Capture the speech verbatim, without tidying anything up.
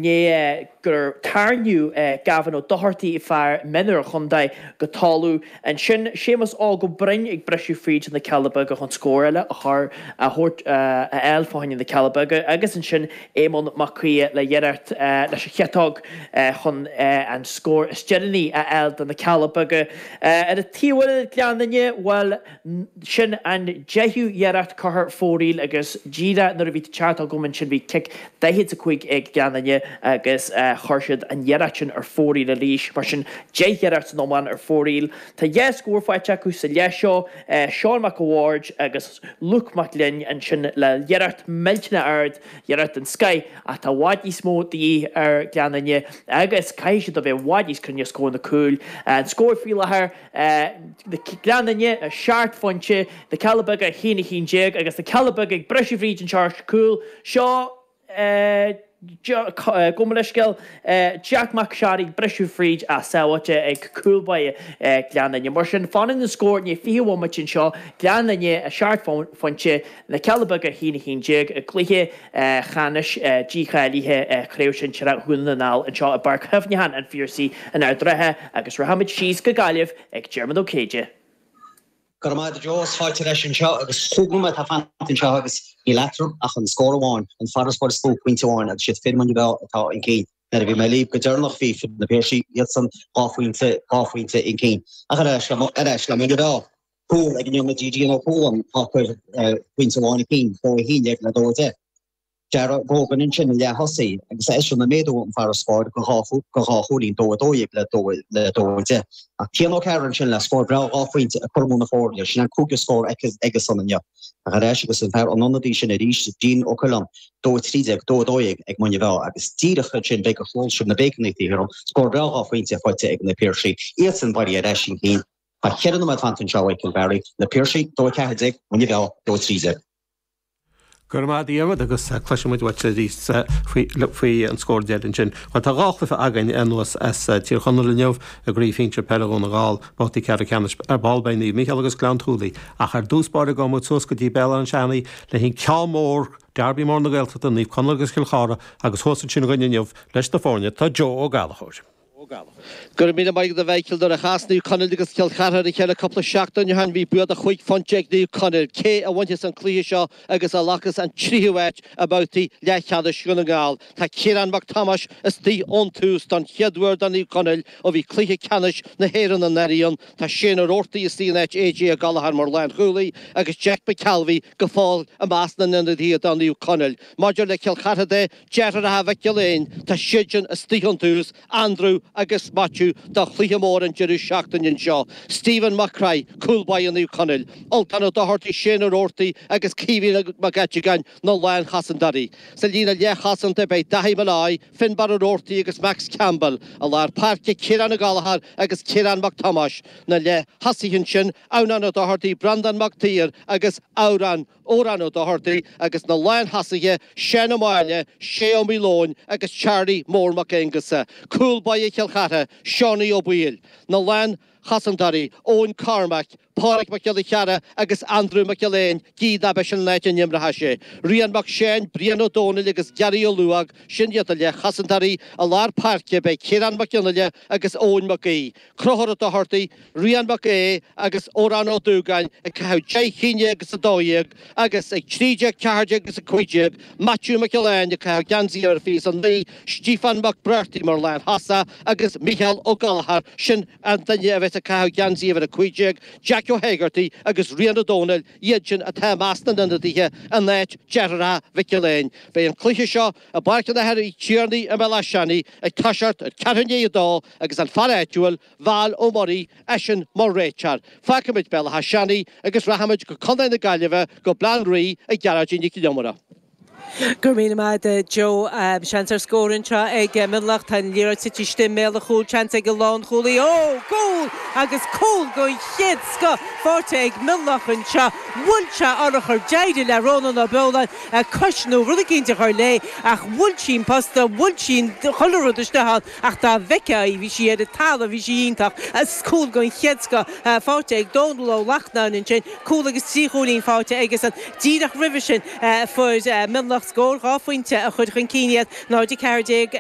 ndiaidh gur tarraingíodh Gavin Ó Dochartaigh, fear mionúir an chontae, go talamh. Ansin Séamus Óg Ó Broin ag briseadh fríd na Cealla Beaga chun scór eile a chur, a thabhairt, a fháil fá choinne na Cealla Beaga agus ansin Éamonn Mac Aodha le hiarracht leis an chiotóg chun an scór is deireanaí a fháil do na Cealla Beaga. Ar an taobh eile Gleann Fhinne, bhuel, sin an deichiú iarracht curtha ar fóraoil agus díreach nuair a bhí tú ag teacht chugam ansin bhí cic daichead is a cúig ag Gleann Fhinne agus chuir siad an iarracht sin ar fóraoil arís. Mar sin, deich iarracht san iomlán ar fóraoil. Tá dhá scór faighte acu sa leath seo, Seán Mac a' Bhaird agus Luke Mac Gloinn ansin le iarracht millteanach ard, iarracht den scoith ach tá i bhfad níos mó de dhíth ar Ghleann Fhinne agus caithfidh siad a bheith i bhfad níos cruinne os comhair na cúil. An scór faoi láthair, Gleann Fhinne, seacht phointe, Na Cealla Beaga, a haon a haon déag agus Na Cealla Beaga ag briseadh fríd anseo ar chúl. Seo gabh mo leithscéal, Jack Mac Searraigh ag briseadh fríd ach sábháilte ag cúl báire Gleann Fhinne. Mar sin, fanann an scór i ndiaidh fiche bhomaite anseo, Gleann Fhinne, seacht phointe, Na Cealla Beaga, a haon a haon déag i gcluiche cheannais dícháilithe Chraobh Sinsearach Dhún na nGall anseo i bPáirc Chuimhneacháin an Phiarsaigh in Ard an Rátha agus rachaimid síos go Gaillimh ag Diarmuid Ó Céide. Go raibh maith agat a Joe, is fáilte ar ais anseo agus cúig nóiméad atá fanta anseo agus níl eatarthu ach an scór amháin, an farasbarr is lú, pointe amháin agus siad fir Mhuine Mheá atá chun cinn. Nuair a bhí mé libh go deireanach bhí fir na Piarsaigh, iadsan dhá phointe, dhá phointe chun cinn. Ach ar ais le, ar ais le Muine Mheá. Cúl ag an ionadaí Dean Ó Cualáin atá ag cur pointe amháin chun cinn, dó a haon déag le dó a deich. Darragh Grogan ansin i leath-thosaí agus eisean ag méadú an farasbarr go dhá chúilín, dó a dó dhéag le dó a deich. Ach Cian Ó Cearúil ansin le scór breá dhá phointe ag cur amú na foirne, sin an cúigiú scór aigesan inniu. Ach ar ais agus an fear an ionadaí sin arís, Dean Ó Coileáin, dó a trí déag, dó a dó dhéag ag Muine Mheá agus díreach ansin b'fhéidir gur chuala sibh na béiceanna taobh thiar scór breá dhá phointe faighte ag na Piarsaigh, iadsan bailithe ar ais chun cinn. Tá ceithre nóiméad fanta anseo, a Mhichael Barry, Na Piarsaigh, dó a ceathair déag, Muine Mheá, dó a trí déag. Go raibh maith agat a Dhiarmuid agus cloisfidh muid uait arís faoi an scór deiridh ansin. Bhuel tá dhá chluiche againn anuas as Tír Chonaill inniu i gCraobh Shinsir Peile Dhún na nGall, babhtaí ceathrú ceannais. Ar ball beidh Naomh Mícheál agus Gleann tSúilí ach ar dtús báire gabhfaidh muid suas go dtí Béal Átha an Seanaidh le haghaidh ceann mór, Derby mór na Gaeltachta, Naomh Conaill agus Cill Chartha agus thuas ansin againn inniu leis na foirne tá Joe Ó Gallchóir. Go raibh míle maith agat a Mhichíl. Nuair a chas Naomh Conaill agus Cill Chartha ar a chéile cúpla seachtain ó shin bhí bua de chúig phointe ag Naomh Conaill. Cé a bhainfeas an cluiche seo agus a ghlacfas an tríú háit i mbabhtaí leathcheannais Dhún na nGall? Tá Ciarán Mac Tomáis istigh ón tús don chéad uair do Naomh Conaill ó bhí cluiche ceannais na hÉireann anuraidh ann. Tá Shane Ó Roarty istigh in áit AJ Ó Gallchóir mar lánchúlaí agus Jack McKelvey go fóill i measc na n-ionadaithe do Naomh Conaill. Maidir le Cill Chartha de, deartháireacha Mhic Giolla Éin, tá siadsan istigh ón tús, Andrew agus Maitiú do chluiche mór an deireadh seachtaine anseo. Stephen Mac Craith, cúl báire Naomh Conaill, Ultan Ó Dochartaigh, Shane Ó Roarty agus Caoimhín Mac Eiteagáin na lánchosantóirí. Sa líne leathchosanta beidh Daithí Molloy, Finbarr Ó Roarty agus Max Campbell. I lár páirce Ciarán Ó Gallchóir agus Ciarán Mac Tomáis. Na leath-thosaithe ansin, Adhnán Ó Dochartaigh, Breandán Mac Tuír agus Amhrán Odhrán Ó Dochartaigh agus na lántosaithe Seán Ó Máille, Shay Ó Maoileoin agus Charlie Mór Mac Aonghusa, cúl báire Chill Chartha, Seánie Ó Baoill, na lánchosantóirí Eoin Cormack, Pádraig Mac Giolla Chearra agus Andrew Mac Giolla Éin, gidh nárbh é sin an áit a n-imreoidh sé. Rian Mac Seáin, Brian Ó Dónaill agus Gary Ó Luadhóg, sin iad na leathchosantóirí. I lár páirce beidh Ciarán Mac Fhionnghaile agus Eoin Mac Aoidh. Conchúr Ó Dochartaigh, Rian Mac Aodha agus Odhrán Ó Dúgáin ag caitheamh deich chinn déag agus a dó dhéag agus ag trí déag, ceathair déag agus a cúig déag, Maitiú Mac Giolláin ag caitheamh geansaí uimhir fiche is a naoi, Stíofán Mac Breartaigh mar lánthosach agus Mícheál Ó Gallchóir, sin an duine a bheas ag caitheamh geansaí uimhir a cúig déag, Jack Ó hÉigeartaigh agus Rian Ó Dónaill, iad sin atá i measc na n-ionadaithe in áit deartháireacha Mhic Giolláin. Beidh an cluiche seo i bPáirc an Athar Uí Tiarnaigh i mBéal Átha Seanaidh ag toiseacht ar ceathrú i ndiaidh a dó agus an fear áitiúil, Val Ó Muirí, eisean mar réiteoir. Fágfaimid Béal Átha Seanaidh agus rachaimid go Contae na Gaillimhe, go Baile Átha an Rí ag Gearóidín Nic Con Iomaire. Go raibh míle maith agat Joe. Seans ar scór anseo ag Mionlach. Tá an liathróid tite istigh i mbéal an chúil. Seans ag an lánchúlaí. Ó! Cúl! Agus cúl den chéad scoth faighte ag Mionlach anseo. Bhuail sé urchar. D'éirigh le Rónán Ó Beoláin cois nó rud eicínt a chur léi ach bhuail sí an posta, bhuail sí chuile rud istigh ann ach dá bhfeicfeá í, bhí sí ar an talamh, bhí sí iontach. Agus cúl den chéad scoth faighte ag Dónal Ó Lachtnáin ansin. Cúl agus trí chúilín faighte aigesan. Díreach roimhe sin fuair Mionlach scór dhá phointe a chuir chun cinn iad, náid a ceathair déag.